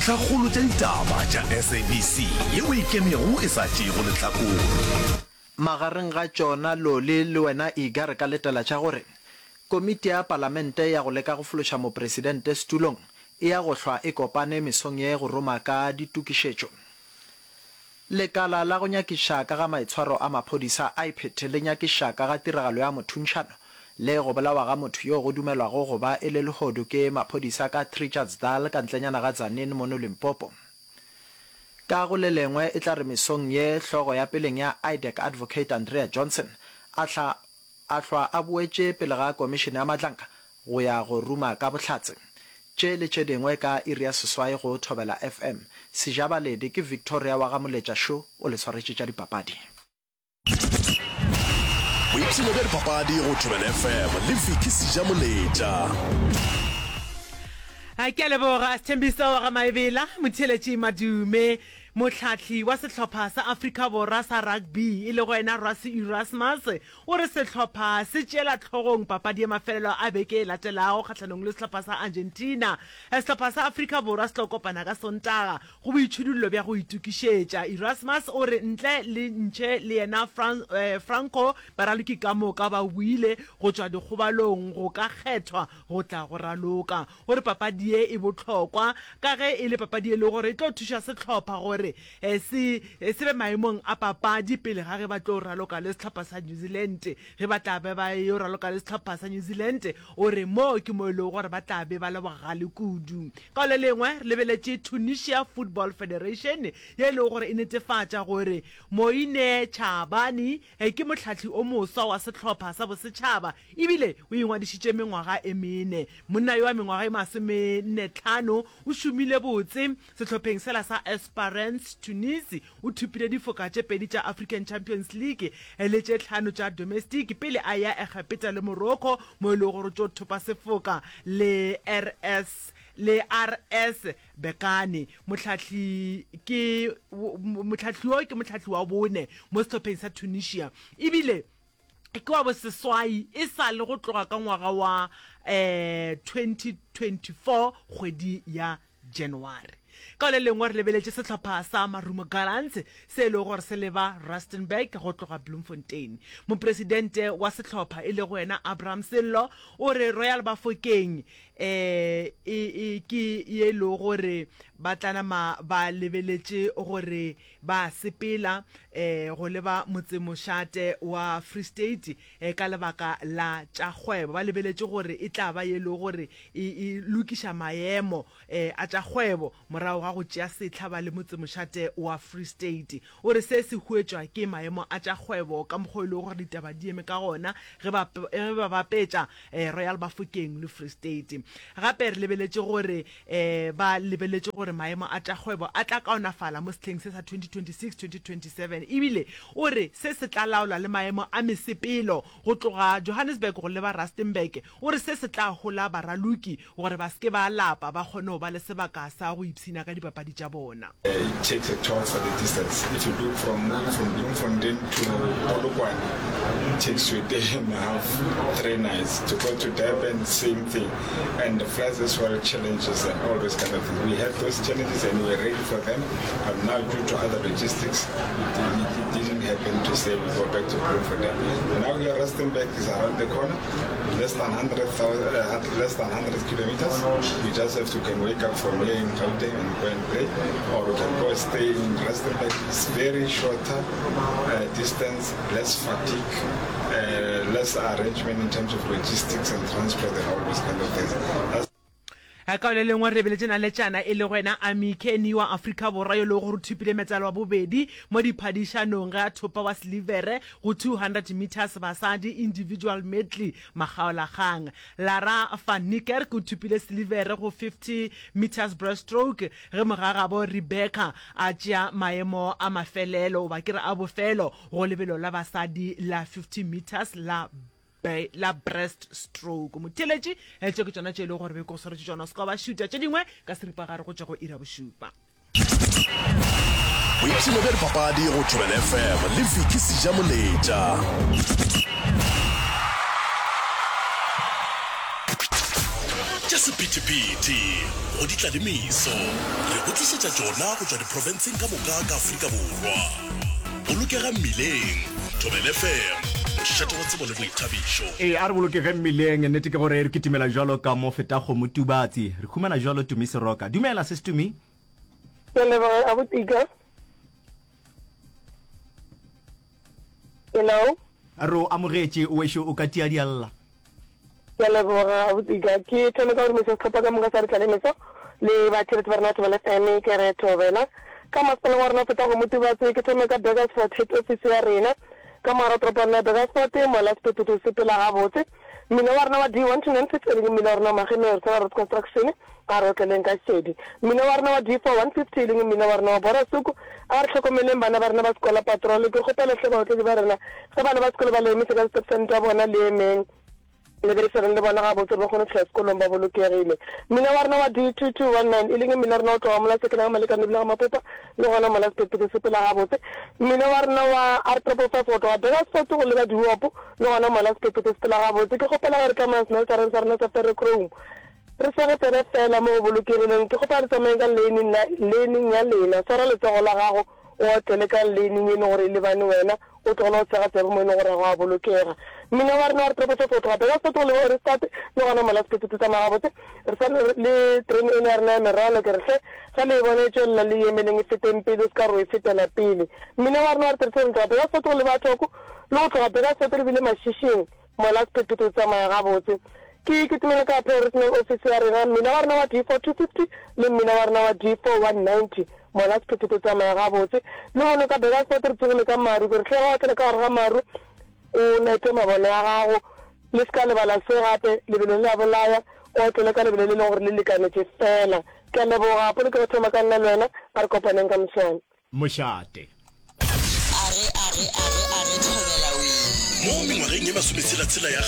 Ntlhakgolo tša ditaba tša SABC yeo e ikemego e sa tšeego lehlakore. Magareng ga tšona Loli le wena Iga re ka letela tša gore Komiti ya Palamente ya go leka go fološa Mopresidente setulong e ya go hlwa e kopane mesong ye go roma ka ditokišetšo. Lekala la go nyakiša ka ga maitshwaro a maphodisa, IPID, le nyakiša ka ga tiragalo ya mothuntšhano le go bolawa ga motho yo go dumelwago go ba e le lehodu ke maphodisa ka Trichardsdal ka ntlenyana ga Tzaneen mono Limpopo. Ka go le lengwe e tla re mesong ye hlogo ya peleng ya IDAC Advocate Andrea Johnson a hla a hlwa a boetše pele ga komišene ya Matlanka go ya go ruma ka bohlatse. Tše le tše dingwe ka iri ya seswai go Thobela FM. Sejabaledi ke Victoria wa ga Moletša Šo o le swaretše tša dipapadi. Boipshino bja dipapadi go Thobela FM le Vicky Sejamoletša. Ke a leboga Sthembiso wa ga Maebela, motheeletši Madume, mohlahli wa sehlopha sa Afrika Borwa sa rugby e lego yena Rassie Erasmus O re sehlopha se tšeela hlogong papadi ya mafelelo a beke e latelago kgahlanong le sehlopha sa Argentina. Sehlopha sa Afrika Borwa se tlo kopana ka Sontaga go boitšhidullo bja go itokišetša. Erasmus o re ntle le Nche le yena Franco, baraloki ka moka ba boile go tšwa dikgobalong go ka kgethwa go tla go raloka. O re papadi ye e bohlokwa ka ge e le papadi e lego gore e tlo thuša sehlopha gore se se be maemong a papadi pele ga ge ba tlo raloka le sehlopha sa New Zealand. Ge ba tla be ba yo raloka le sehlopha sa New Zealand, o re mo ke mo e lego gore ba tla be ba le bogale kudu. Ka le lengwe re lebeletše Tunisia Football Federation ye e lego gore e netefatša gore Moine Chaabani ke mohlahli o moswa wa sehlopha sa bosetšhaba ebile o ingwadišitše mengwaga e mene. Monna yo wa mengwaga e masomennetlhano o šomile botse Sehlopheng sela sa Esperance Tunis o thopile difoka tše pedi tša African Champions League le tše tlhano tša Domestic pele a eya Egepeta le Morocco mo e lego gore o tšo thopa sefoka le RS le RS Berkane. Mohlahli ke mohlahli yo ke mohlahli wa bone mo sehlopheng sa Tunisia ebile ke wa boseswai e sa le go tloga ka ngwaga wa 2024 kgwedi ya January. Ka le lengwe re lebeletše sehlopha sa Marumo Gallants se e lego gore se leba Rustenburg go tloga Bloemfontein. Mopresidente wa sehlopha e lego yena Abraham Sello o re Royal Bafokeng e e ke ye e lego gore ba tla nama ba lebeletše gore ba sepela go leba motsemošate wa Free State ka lebaka la tša kgwebo. Ba lebeletše gore e tla ba ye e lego gore e, e lokiša maemo a tša kgwebo morago ga go tšea sehla ba le motsemošate wa Free State. O re se se huetšwa ke maemo a tša kgwebo ka mokgwa o e lego gore ditaba di eme ka gona ge ba, ge ba bapetša Royal Bafokeng le Free State. Gape re lebeletše gore Ba lebeletše gore maemo a tša kgwebo a tla kaonafala mo sehleng se sa 2026-2027 ebile o re se se tla laola le maemo a mesepelo go tloga Johannesburg go leba Rustenburg. O re se se tla hola baraloki gore ba se ke ba lapa ba kgone go ba le sebaka sa go ipshina ka dipapadi tša bona. It takes a toll for the distance. If you look from moving from Bloemfontein to Polokwane, it takes you a day and a half, three nights. To go to Durban, same thing. And the floods as well, challenges and all those kind of things. We had those challenges and we were ready for them, but now due to other logistics, it, it, it didn't happen to say we go back to Bloemfontein. Now here, Rustenburg is around the corner, less than 100, uh, less than 100 kilometers. We just have to can wake up from here in Gauteng and go and play, or we can go stay in Rustenburg. It's very shorter uh, distance, less fatigue, uh, less arrangement in terms of logistics and transport and all those kind of things. That's Ka le lengwe re lebeletše naletšana e lego yena Ami Kenny wa Afrika Borwa yo e lego gore o thopile metsalo wa bobedi mo diphadišanong ge a thopa wa silivere go 200 metres basadi individual medley makgaolakgang. Lara van Niekerk o thopile silivere go 50 metres breaststroke ge mogagabo Rebecca a tšea maemo a mafelelo goba ke re a bofelo go lebelo la basadi la 50 metres la la breast stroke. Motheeletši, tše ke tšona tše e lego gore be ke go swaretše tšona. O se ka wa ba šuta tše dingwe ka seripagare go tšwa go iri ya bošupa. Boipshino bja dipapadi go Thobela FM le Vicky Sejamoletša. Tše. sephethephethe, go di tla le meso. Re go tlišetša tšona go tšwa diprofenseng ka moka ka Afrika Borwa. Bolokega mmileng. Thobela FM, mošate wa tsebo le boithabišo. Ee, a re bolokege mmileng. Nnete ke gore re kitimela bjalo ka mo feta kgomo Tubatse. Re humana bjalo Tumi Seroka. Dumela, Sis Tumi. Ke a leboga, Abuti Ika. Hello. Re o amogetše, wešo o ka tia dialla. Ke a leboga abutika. Ke thome ka go dumediša sehlopha ka moka sa Re Tlale Meso le batheeletši ba rena ba Thobela FM. Ke re thobela ka masepaleng wa rena o fetago Motubatse. Ke thome ka Burgersfort head office ya rena ka mogare wa toropo ya rena ya Burgersfort mola sephethephethe se sepela gabotse. Mmila wa rena wa D1296 e leng mmila wa rena wa Magemeng re tshwara road construction a re otleleng ka šedi. Mmila wa rena wa D4150 e leng mmila wa rena wa Borasuk a re hlokomeleng bana ba rena ba sekola patrol. Ke kgopela hle baotledi ba rena ge bana ba sekolo ba le emise ka stop sign tša bona le emeng le berekisaneng le bona gabotse gore ba kgone go fihla sekolong ba bolokegile. Mmila wa rena wa D2219 e leng mmila wa rena o tloga mola Sekenang Malekane ebile ga Mapopa le gona mola sephethephethe se sepela gabotse. Mmila wa rena wa R triple 5 go tloga Burgersfort go leba Diopo le gona mola sephethephethe se sepela gabotse. Ke kgopela ge re tsamaya smeltereng sa rena sa ferrochrome re sege tsebe fela mo go bolokegileng. Ke kgopela re tsamayeng ka lane laneng ya lena. Swara letsogo la gago o otlele ka laneng e leng gore e lebane wena, o tlogele go sega tsebe mo e leng gore ga go a bolokega. Mmila wa rena wa re triple 5 go tloga Burgersfort go leba Ohrigstad le gona mola sephethephethe se tsamaya gabotse. Re sa le terene eno ya rena ya merwalo, ke re hle, ge le e bona e tšwelela le e emeleng e feteng pele, o se ka re o e fetela pele. Mmila wa rena wa re 37 tloga Burgersfort go leba Thoko, le go tloga Burgersfort re bile Mashishing, mola sephethephethe se tsamaya gabotse. Ke kitimele ka Regional Office ya rena, mmila wa rena wa D4 250 le mmila wa rena wa D4 190, mola sephethephethe se tsamaya gabotse. Lehono ka Burgersfort re tsogile ka maru, ke re hle ge o otlela ka gare ga maru o nete mabone a gago, Le se ka lebala se gape, lebelo le a bolaya, o otlele ka lebelo le leng gore le lekanetše feela. Ke a leboga, polokego thoma ka nna le wena, a re kopaneng ka moswane. Mošate. Are, are, are, are thobela wee. Mo mengwageng ye masometshela-tshela ya.